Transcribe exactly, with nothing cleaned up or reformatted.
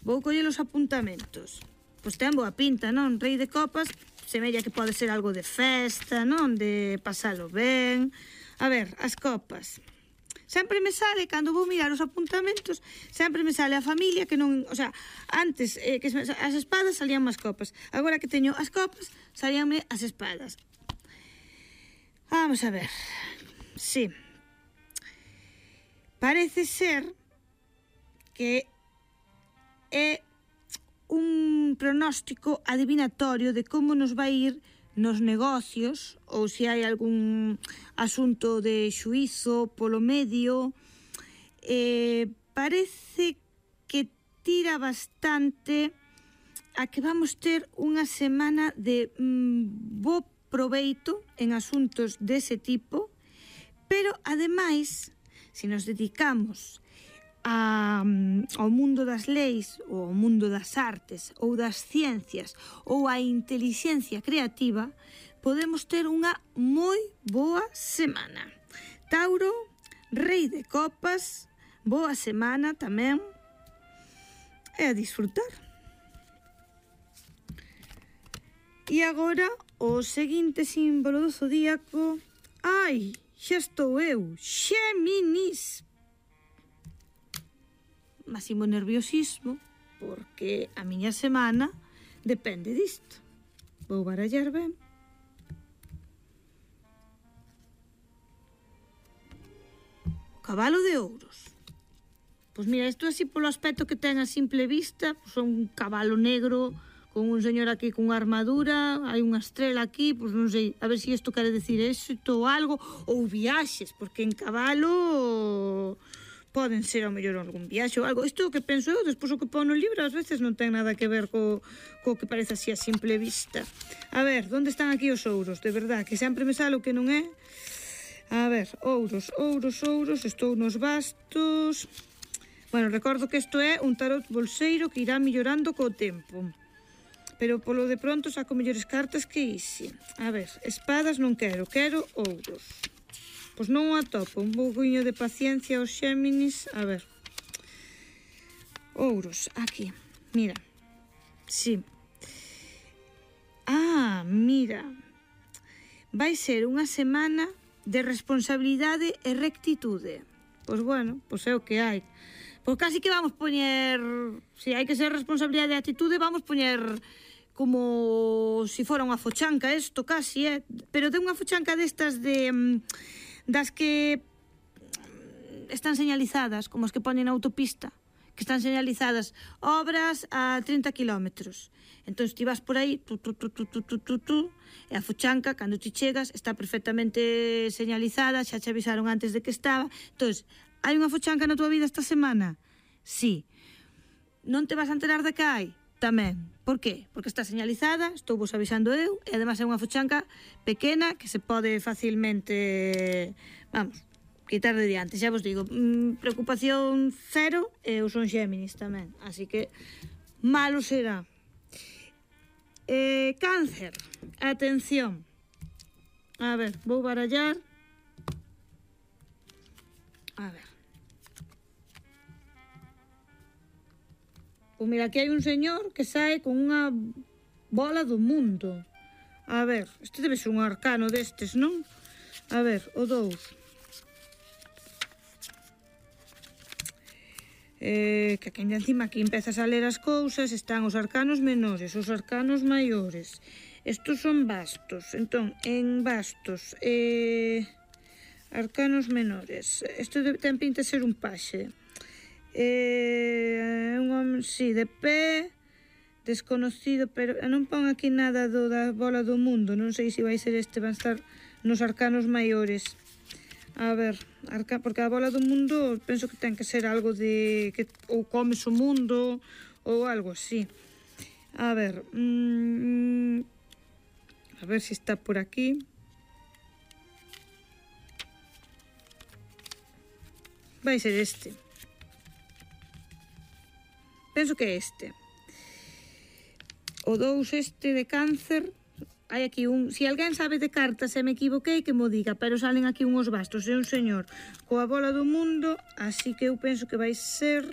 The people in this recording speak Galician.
vou coller os apuntamentos. Pois ten boa pinta, non? Rei de copas, semella que pode ser algo de festa, non? De pasalo ben. A ver, as copas. Sempre me sale, cando vou mirar os apuntamentos, sempre me sale a familia que non... O sea, antes eh, que as espadas salían as copas. Agora que teño as copas, salíanme as espadas. Vamos a ver. Sí. Parece ser que é un pronóstico adivinatorio de como nos vai ir nos negocios ou se hai algún asunto de xuízo polo medio. Eh, parece que tira bastante a que vamos ter unha semana de mm, bo proveito en asuntos dese tipo, pero ademais, se nos dedicamos A, ao mundo das leis ou ao mundo das artes ou das ciencias ou a intelixencia creativa, podemos ter unha moi boa semana. Tauro, rei de copas, boa semana tamén, e a disfrutar. E agora o seguinte símbolo do zodíaco. Ai, xa estou eu, Xéminis. Máximo nerviosismo, porque a miña semana depende disto. Vou barallar ben. Cabalo de ouros. Pois mira, isto así polo aspecto que ten a simple vista, pois son un cabalo negro con un señor aquí con armadura, hai unha estrela aquí, pois non sei, a ver se isto quere decir éxito ou algo, ou viaxes, porque en cabalo poden ser ao mellor algún viaxe ou algo. Isto é o que penso eu, despois o que pon no libro ás veces non ten nada que ver co, co que parece así a simple vista. A ver, onde están aquí os ouros? De verdad, que sempre me sale o que non é. A ver, ouros, ouros, ouros, estou nos bastos. Bueno, recordo que isto é un tarot bolseiro que irá mellorando co tempo. Pero polo de pronto saco mellores cartas que isi. A ver, espadas non quero, quero ouros. Pois non o atopo, un pouquiño de paciencia aos Xéminis. A ver. Ouros, aquí. Mira. Sí. Ah, mira. Vai ser unha semana de responsabilidade e rectitude. Pois bueno, pois é o que hai. Pois casi que vamos poñer... Se hai que ser responsabilidade e actitude, vamos poñer como se fora unha fochanca isto casi, eh? Pero de unha fochanca destas de... das que están señalizadas, como as que ponen na autopista, que están señalizadas obras a trinta kilómetros. Entón, ti vas por aí, tu, tu, tu, tu, tu, tu, tu, tu, e a fochanca, cando ti chegas, está perfectamente señalizada, xa te avisaron antes de que estaba. Entón, hai unha fochanca na tua vida esta semana? Sí. Non te vas a enterar de que hai? Tamén. Por qué? Porque está señalizada, estou vos avisando eu, e además é unha fochanca pequena que se pode facilmente, vamos, quitar de diante. Xa vos digo, mmm, preocupación cero, e eu son Xéminis tamén, así que malo será. Eh, cáncer, atención. A ver, vou barallar. A ver. Pois mira, aquí hai un señor que sae con unha bola do mundo. A ver, este debe ser un arcano destes, non? A ver, o dous. Eh, que aquí encima aquí empezas a ler as cousas, están os arcanos menores, os arcanos maiores. Estos son bastos. Entón, en bastos, eh, arcanos menores. Isto ten pinta de ser un paxe. Eh, un home, sí, de pé, desconocido, pero non pon aquí nada do da bola do mundo. Non sei se vai ser este, van estar nos arcanos maiores. A ver, arca, porque a bola do mundo penso que ten que ser algo de que ou comes o mundo ou algo así. A ver, mmm, a ver se está por aquí. Vai ser este. Penso que é este. O dous este de cáncer. Hai aquí un... Si alguén sabe de cartas e me equivoquei, que mo diga, pero salen aquí unhos bastos e un señor coa bola do mundo, así que eu penso que vai ser